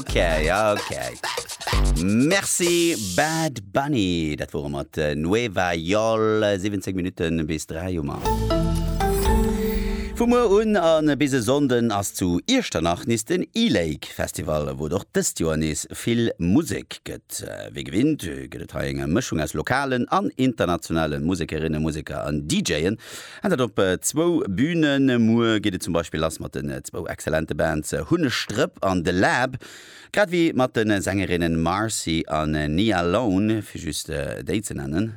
Ok, ok. Merci Bad Bunny. Dat wor e mat Nueva Yol. 17 Minutten bis 3 hu mer. Vu muer un a bis e Sonnden ass zu Iechternach nees den E-Lake Festival, wou et och dëst Joer nees vill Musek gëtt. Wéi gewinnt gëtt et hei eng Mëschung aus lokalen an internationale Musekerinnen, Museker an DJen. An dat op zwou Bünen. Muer geet et zum Beispill lass mat den zwou exzellente Bands Hunnestrëpp an The Lab, grad ewéi mat de Sängerinnen Marcy an Nia Lone, fir just déi ze nennen.